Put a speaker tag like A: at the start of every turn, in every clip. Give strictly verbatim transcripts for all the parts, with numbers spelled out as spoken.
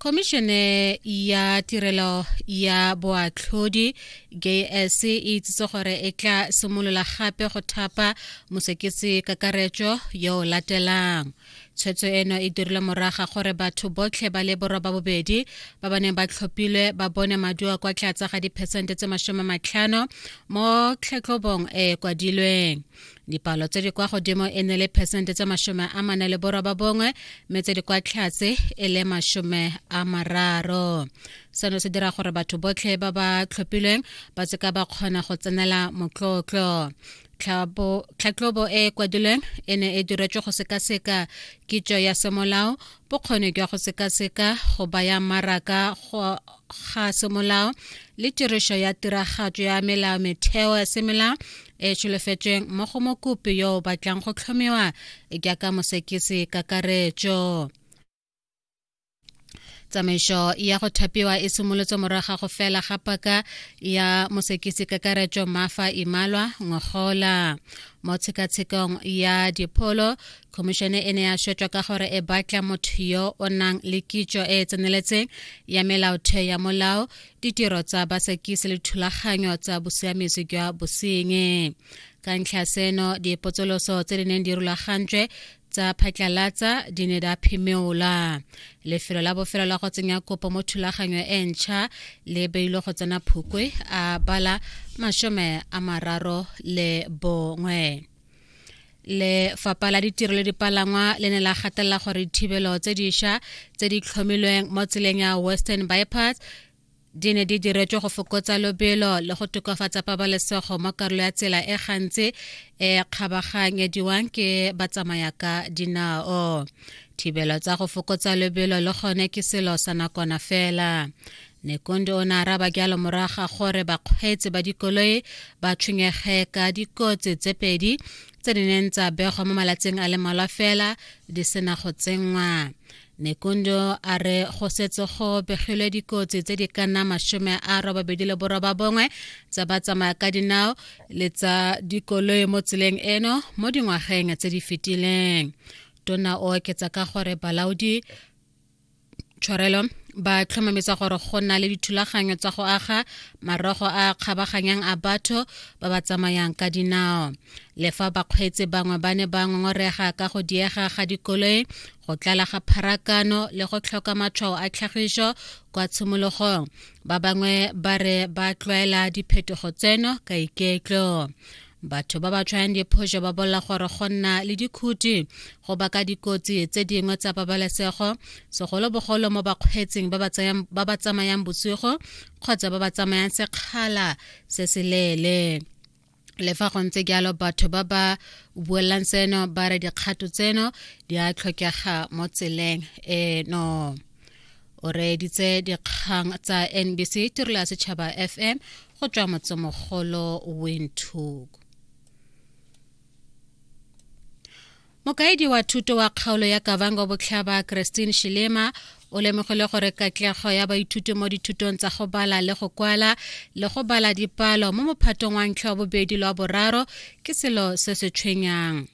A: Khomišene ya Tirelo ya Boatlhodi J S C e itsise gore e tla simolola gape go thapa mosekisi kakaretso yo o latelang. Tshwetso eno e dirilwe morago ga gore batho botlhe ba le borobabobedi ba ba neng ba tlhophilwe ba bone maduo kwa tlase ga diphesente tse masome matlhano mo tlhatlhobong e e kwadilweng. Dipalo tse di kwa godimo e ne le phesente tse masome a mane le borobabongwe, mme tse di kwa tlase e le masome a mararo. Seno se dira gore batho botlhe ba ba tlhophilweng ba seka ba kgona go tsenela motlotlo. Tlhatlhobo e e kwadilweng e ne e diretswe go sekaseka kitso ya semolao, bokgoni jwa go sekaseka, go baya maraka ga semolao le tiriso ya tiragatso ya melao metheo ya semolao e e solofetsweng mo go mokopi yo o batlang go tlhomiwa jaaka mosekisi kakaretso. Tsamaiso ya go thapiwa e simolotse morago ga go fela ga paka ya mosekisi kakaretso Mafa Imalwa ngogola. Mo tshekatshekong ya dipholo, khomišene e ne ya swetswa ka gore e batla motho yo o nang le kitso e e tseneletseng ya melaotheo ya molao, ditiro tsa basekisi le thulaganyo tsa bosiamisi jwa bosenyi. Ka ntlha seno, dipotsoloso tse di neng di rulagantswe tsa phatlalatsa di ne di a phimola. Lefelo la bofelo la go tsenya kopo mo thulaganyo e ntšha le beilwe go tsena Phukwe a bala masome a mararo le bongwe. Lefapha la Ditiro le Dipalangwa le ne la gatelela gore dithibelo tse dišwa tse di tlhomilweng mo tseleng ya Western Bypass di ne di diretswe go fokotsa lobelo le go tokafatsa pabalesego mo karolo ya tsela e gantsi e kgabaganyediwang ke batsamaya ka dinao. Thibelo tsa go fokotsa lobelo le gone ke selo sa nakwana fela. Nekundi o ne a araba jalo morago ga gore bakgweetsi ba dikoloi ba tshwenyege ka dikotsi tse pedi tse di neng tsa begwa mo malatsing a le mmalwa fela di sena go tsenngwa. Nekundi a re go setse go begilwe dikotsi tse di ka nna masome a robabedi le borobabongwe tsa batsamaya ka dinao le tsa dikoloi mo tseleng eno mo dingwageng tse di fetileng. Tona o oketsa ka gore balaodi tshwarelo ba tlhomamisa gore go na le dithulaganyo tsa go aga marogo a kgabaganyang a batho ba ba tsamayang ka dinao. Le fa bakgweetsi bangwe ba ne ba ngongorega ka go diega ga dikoloi, go tlala ga pharakano le go tlhoka matshwao a tlhagiso kwa tshimologong, ba bangwe ba re ba tlwaela diphetogo tseno ka iketlo. Batho ba ba tshwayang diphoso ba bolela gore go nna le dikhuti go baka dikotsi tse dingwe tsa pabalesego, segolobogolo mo bakgweetsing ba ba tsamayang bosigo kgotsa ba ba tsamayang sekgala se se leele. Le fa go ntse jalo, batho ba ba buelang seno ba re dikgato tseno di a tlhokega mo tseleng eno. O reeditse dikgang tsa N B C Tirelo ya Setšhaba F M go tswa motsemogolo Windhoek. Mokaedi wa thuto wa kgaolo ya Kavango Botlhaba, Christine Shilema, o lemogile gore katlego ya baithuti mo dithutong tsa go bala le go kwala le go bala dipalo mo mophatong wa ntlha, wa bobedi le wa boraro ke selo se se tshwenyang.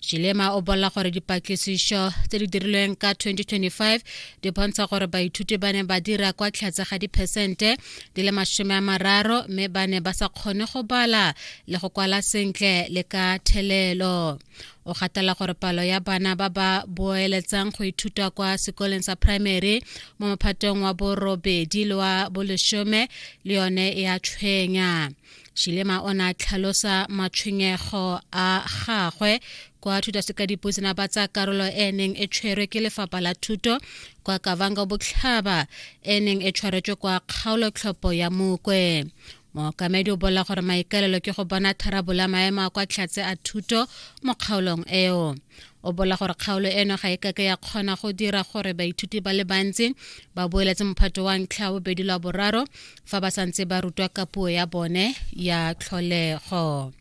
A: Shilema o bolela gore dipatlisiso tse di dirilweng ka twenty twenty-five di bontsha gore baithuti ba ne ba dira kwa tlase ga diphesente di le masome a mararo, mme ba ne ba sa kgone go bala le go kwala sentle le ka thelelo. O gatela gore palo ya bana ba ba boeletsang go ithuta kwa sekoleng sa primary mo mophatong wa borobedi le wa bolesome le yone e a tshwenya. Shilema o ne a tlhalosa matshwenyego a gagwe kwa thutasekadipuisano ba tsa karolo e neng e tshwerwe ke lefapha la thuto kwa Kavango Botlhaba, e neng e tshwaretswe kwa kgaolotlhopho ya Mokwe. Mookamedi o bolela gore maikaelelo ke go bona tharabololo ya maemo a kwa tlhatse a thuto mo kgaolong eo. O bolela gore kgaolo eno ga e kake ya kgona go dira gore baithuti ba le bantsi ba boeletse mophato wa ntlha, bobedi le wa boraro fa ba santse ba rutwa ka puo ya bone ya tlholego.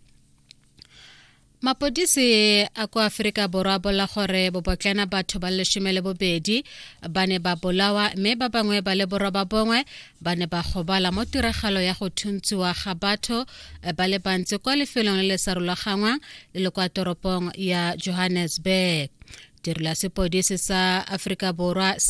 A: Mapodisi a kwa Aforika Borwa a bolela gore bobotlana batho ba lesome le bobedi ba ne ba bolawa mme ba bangwe ba le boroba bongwe ba ne ba gobala mo tiragalo ya go thuntsiwa ga batho ba le bantsi kwa lefelong le le sa rulagangwang le le kwa toropong ya Johannesburg. Tirelo ya sepodisi sa Aforika Borwa